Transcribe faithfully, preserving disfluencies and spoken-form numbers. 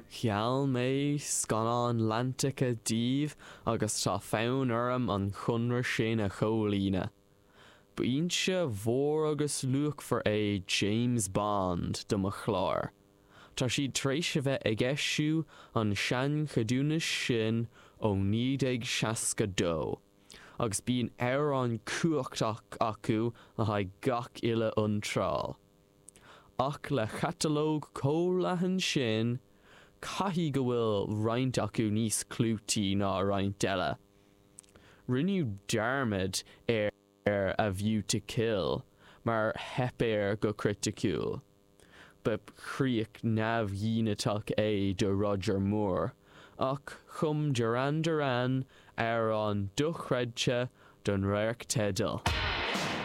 Gheall mé scannáin leantacha daoibh agus tá fonn orm an conradh sin a chomhlíonadh. B'fhoinse mhór agus luachmhar é James Bond do mo chlár. Tá siad tar éis a bheith ag eisiú an seancheadúnas sin ó naoi déag seasca dó, agus bíonn amhrán cumhachtach acu le haghaidh gach uile iontráil. Ach le catalóg chomh leathan sin, caithfidh go bhfuil roinnt acu níos clúití ná roinnt eile. Rinneadh dearmad ar A View to Kill mar theip air go criticiúil. Ba chríoch neamhghiniteach é do Roger Moore, ach chum Duran Duran amhrán dochreidte don radharc teidil.